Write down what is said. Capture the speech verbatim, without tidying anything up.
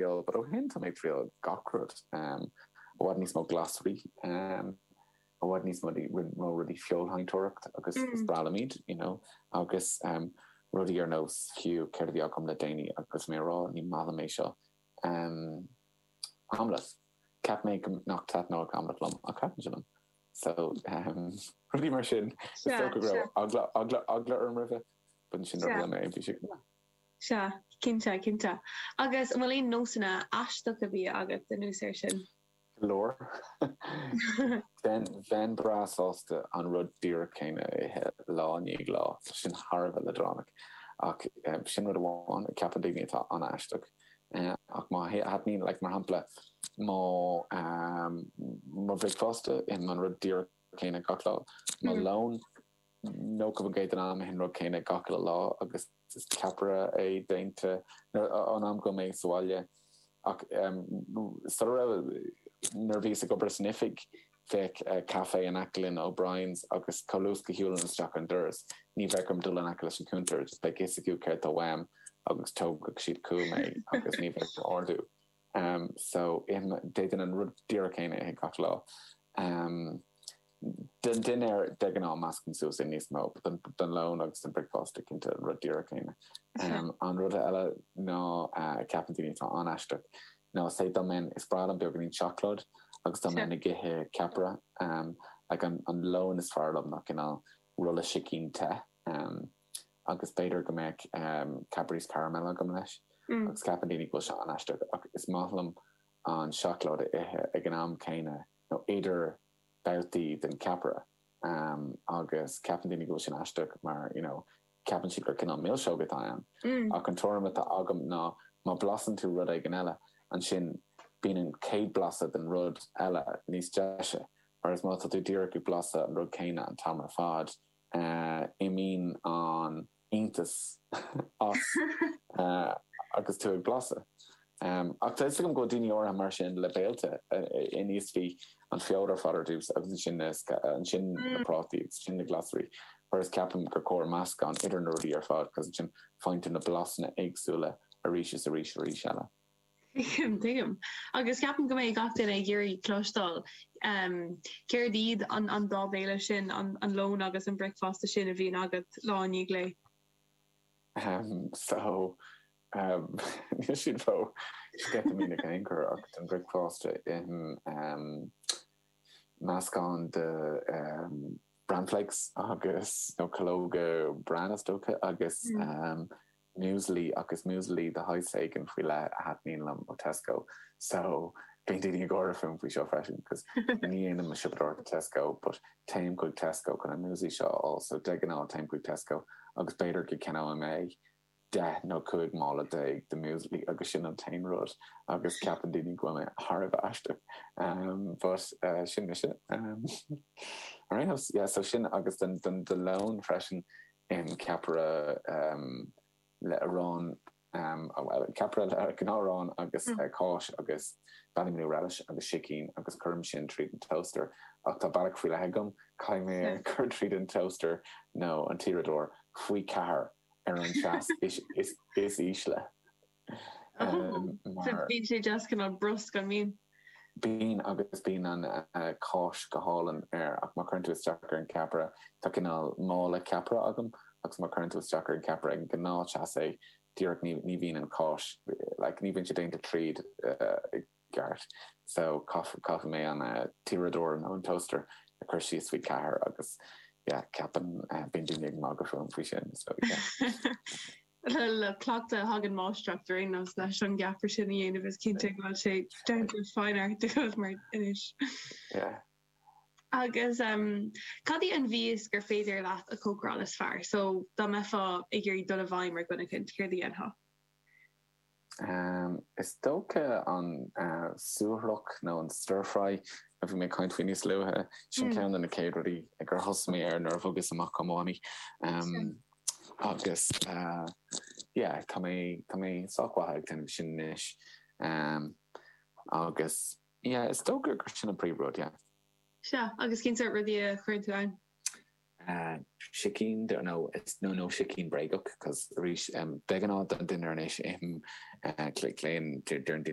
triail, but ó shin tá mé ag triail gach rud. Um, i bhfad níos mó glasraí, um, i bhfad níos mó mó rudaí feoilséantóireacht agus mm. is breá liom iad, you know, agus um, rudaí ar nós fiú céard a bhí agam le déanaí agus mé rá ní maith liom é seo. Um, omelette. Cheap mé nach dtaitneodh omelette liom ach thaitin sé liom. So um, rudaí mar sin is dócha go raibh eagla eagla eagla orm roimhe, but sin le mé bhí sé. Sea, cinnte, cinnte. Agus an bhfuil aon nósanna aisteacha bia agat anuas air sin? Go leor. Bheinn bheinn breá sásta an rud díreach céanna a ithe lá i ndiaidh lá, tá sin thar a bheith leadránach. Ach sin rud amháin a ceapann daoine atá an-aisteach. Ach má thaitníonn, like mar shampla, mo mo bhricfeasta, ithim an rud díreach céanna gach lá. Mo lón, nócha faoin gcéad den am ithim an rud céanna gach uile lá agus is ceapaire é déanta an am go mé sa bhaile. Ach sula raibh nuair a bhíos ag obair san oifig bheadh caife in aice linn O'Brien's agus chomh luath is go shiúlainn isteach an doras ní bheadh orm dul in aice leis an cuntar just beidh fhios acu céard tá uaim agus tógfadh siad chugam é agus ní bheadh ordú. Um, so d'fhéadfainn an rud díreach céanna a ithe gach lá. Um, Den dinnéar de ghnáth meascaim suas é níos mó, but don lón agus don bricfeasta cinnte an rud díreach céanna. An rud eile ná a ceapann daoine atá an-aisteach ná say dá mbeinn, is breá liom beagáinín seacláid agus dá mbeinn ag ithe ceapaire, like an an lón is fearr liom ná cineál rolla sicín te agus b'fhéidir go mbeadh Cadbury's caramel agam leis agus ceapann daoine go bhfuil sé an-aisteach ach is maith liom an seacláid a ithe ag an am céanna nó idir babhtaí den ceapaire agus ceapann daoine go bhfuil sin aisteach mar you know ceapann siad gur cineál milseog atá ann. Ach an tuairim atá agam ná má blasann tú rud éigin eile ansin bíonn an chéad blasa den rud eile níos deise whereas má tá tú díreach ag blasadh an rud céanna an t-am ar fad imíonn an iontas as agus tú ag blaiseadh. Ach tá fhios agam go bhfuil daoine áirithe mar sin le béilte, íosfaidh an feoil ar fad ar dtús agus ansin na ansin na prátaí agus ansin na glasraí, whereas ceapaim gur cóir meascán idir na rudaí ar fad cos ansin faigheann tú na blasanna éagsúla arís is arís arís eile. Tuigim, tuigim. Agus ceapaim go mbeidh gach duine ag iarraidh cloisteáil céard iad an an dá bhéile sin, an an lón agus an bricfeasta sin a bhíonn agat lá i ndiaidh lae. Um, so um, níl siad ró sceitimíneach in aon chor ach don bricfeasta ithim um, meascán de um, bran flakes agus nó calóga bran is dócha agus um, muesli agus muesli de shaghas éigin faoi leith a thaitníonn liom ó Tesco so bíonn daoine ag gáire fúm faoi seo freisin cos ní dhéanaim mo siopadóireacht i Tesco but téim chuig Tesco chun an muesli seo a fháil so de ghnáth téim chuig Tesco agus b'fhéidir go gceannóidh mé deich nó cúig mála déag de muesli agus sin an t-aon rud agus ceapann daoine go bhfuil mé thar a bheith aisteach um, but uh, sin mise um, ar aon nós yeah, so sin agus don don don lón freisin ithim ceapaire um, le arán um, well, ceapaire le gnáth-arán agus mm. uh, cáis agus Ballymanew relish agus sicín agus cuirim sin tríd an toaster ach tá bealach faoi leith agam caithfidh mé é cur tríd an toaster nó an t-uaireadóir faoi ceathair ar an teas is, is, is ísle. Um, mar bíonn sé just cineál brusc an mbíonn. Bíonn agus bíonn an uh, cáis go hálainn air ach má chuireann tú isteach ar an ceapaire tá cineál mála ceapaire agam agus má chuireann tú isteach ar an ceapaire ag an gnáth-teas é díreach ní, ní bhíonn an cáis like, ní bhíonn sé déanta tríd uh, i gceart. So caithfidh mé an uh, t-uaireadóir nó an toaster a chur síos faoi ceathair agus yeah, ceapann uh, bíonn daoine ag magadh fúm faoi sin. So, yeah. Le le cleachtadh a thagann máistreacht ar aon nós leis an gceapaire sin a dhéanamh is cinnte go bhfuil sé down to a fine art agat mar anois. Yeah. Agus um, cad í an mhias gur féidir leat a chócaráil is fearr? So dá mbeifeá ag iarraidh dul i bhfeidhm ar dhuine éicint, céard a dhéanfá? Um, is dócha an uh, suaithrach nó an stir fry a bhí mé ag caint faoi níos luaithe sin mm. ceann de na chéad rudaí gur thosaigh mé air nuair a bhogas amach ó Mhamaí. Um, agus uh, yeah, tá mé tá mé sách maith ag déanamh sin anois. Um, agus yeah, is dócha gur sin an príomhrud, yeah. Sea, agus cén sórt rudaí a chuireann tú ann? Uh, sicín nó nó nó sicín bréagach cos arís um, de ghnáth don dinnéar anois ithim uh, cléan deir